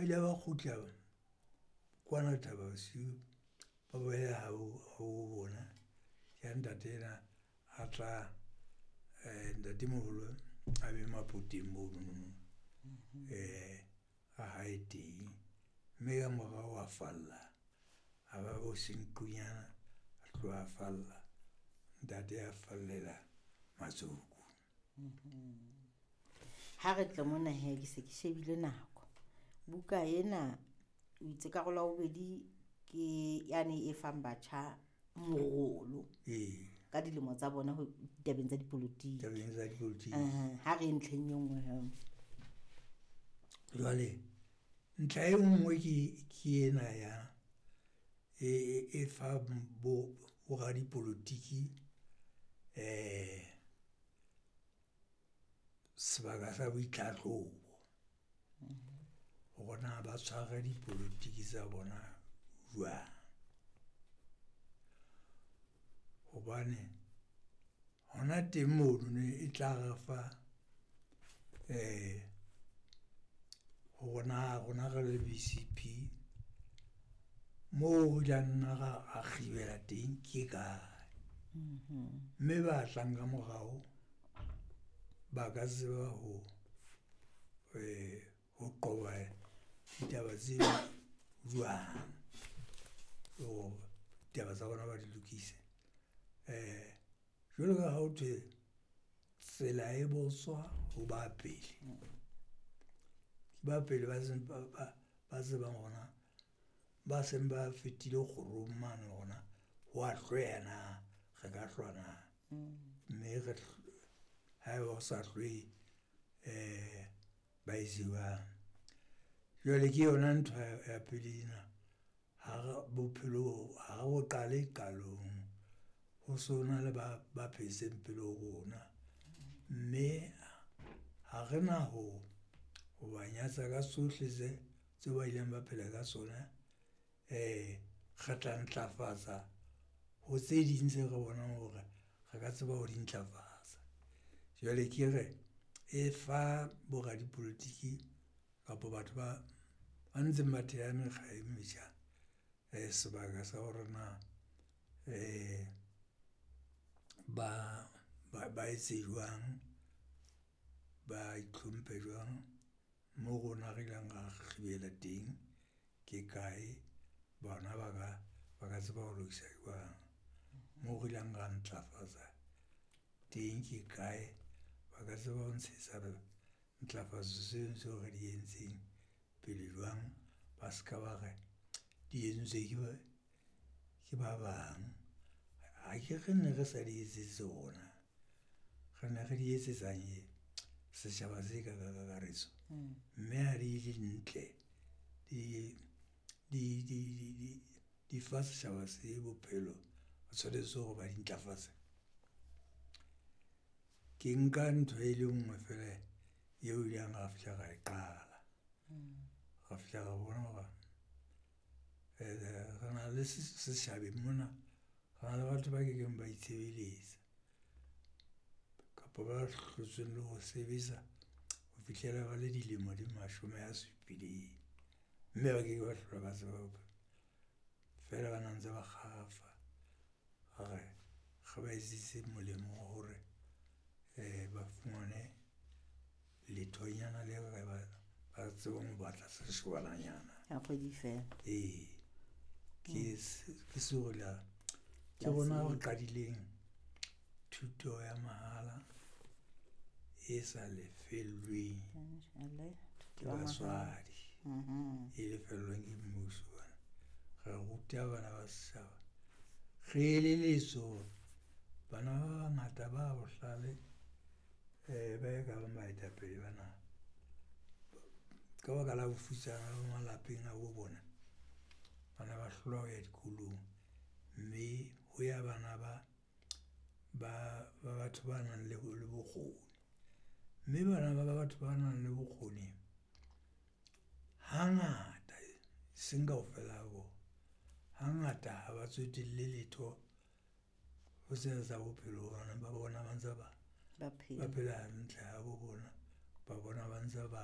Ba ile ba kgutla kwana Thaba Bosiu, ba boela habo bona. Ke ha ntate ena a tla ntatemoholo a be Mapoteng monono ha hae teng. Mme ka morao a falla, a ba bo Senqu nyana, a tloha a falla. Ntate a fallela Mazukwe. Ha re tle mona hee, ke se ke shebile nako. Buka ena o itse karolo ya bobedi ke yane e fang batjha morolo ka dilemo tsa bona ho tabeng tsa dipolotiki. Tabeng tsa dipolotiki. Ha re ntlheng e nngwe hee. Jwale ntlha e nngwe ke ena ya e fa bo radipolotiki sebaka sa boitlhahlobo hore na ba tshware dipolotiki tsa bona jwang? Hobane hona teng mono e tla re fa hore na rona re le BCP moo re la nna ra kgibela teng ke kae? Mme ba tlang ka morao ba ka tseba ho qoba ditaba tseo jwang? Hore ditaba tsa bona ba di lokise. Jwalo ka ha ho thwe tsela e botswa ho ba pele, ke ba pele ba ba tsebang hore na ba seng ba fetile kgorong mane hore na ho wa hlweya na, re ka hlwa na? Mme re ha eba o sa hlweye ba etse jwang? Jwale ke yona ntho ya pele ena, ha re bophelo ha re bo qale qalong. Ho so na le ba phetseng pele ho rona, mme ha re na ho ba nyatsa ka tsohle tse ba ileng ba phela ka tsona. Re tla ntlafatsa ho tse ding tse re bonang hore re ka tseba ho di ntlafatsa. Jwale ke re e fa bo radipolotiki kapa batho ba ntseng ba theha mekga e metjha sebaka sa hore na ba etse jwang? Ba itlhomphe jwang? Moo rona re ileng ra kgibela teng ke kae? Bona ba ka tseba ho lokisa jwang? Moo re ileng ra ntlafatsa teng ke kae? Ba ka tseba ho ntshetsa ntlafatso tseno tseo re di entseng pele jwang? Ba ska ba re di entswe ke ba bang. Akere ne re sa di etsetse rona, re ne re di etsetsang setjhaba se ka ka kakaretso. Mme ha di le ntle, di fa setjhaba se bophelo, ba tshwanetse hore ba di ntlafatse. Ke nka ntho e le nngwe feela eo ileng ra fihla ra e qala. Ra fihla ra bona hore re na le setjhabeng mona, re na le batho ba kekeng ba itshebeletsa kapa ba hlotsweng le ho sebetsa ho fihlela ba le dilemo di mashome a supileng. Mme ba keke ba hlola ba tseba feela ba na ntse ba kgarafa. Re re ba etsetse molemo wa hore ba fumane lethonyana le re ba tsebang ho batla seshobana-nyana. Ya kgwedi feela. Ee, ke ke rona re qadileng thuto ya mahala e sa lefellweng ke batswadi, e lefellwang ke mmuso. Re ruta bana ba setjhaba, re elelletswe hore bana ba bangata ba bohlale ba e ka bang baetapele ba naha. Ka baka la bofutsana bo malapeng a bo bona, bana ba hlolwa ho ya dikolong. Mme ho ya bana ba batho ba nang le bokgoni, mme bana ba batho ba nang le bokgoni hangata e seng kaofela ha bona, hangata ha ba tsotelle letho ho tsena tsa bophelo hobane ba bona ba ntse ba phela hantle ha bo bona, ba bona ba ntse ba .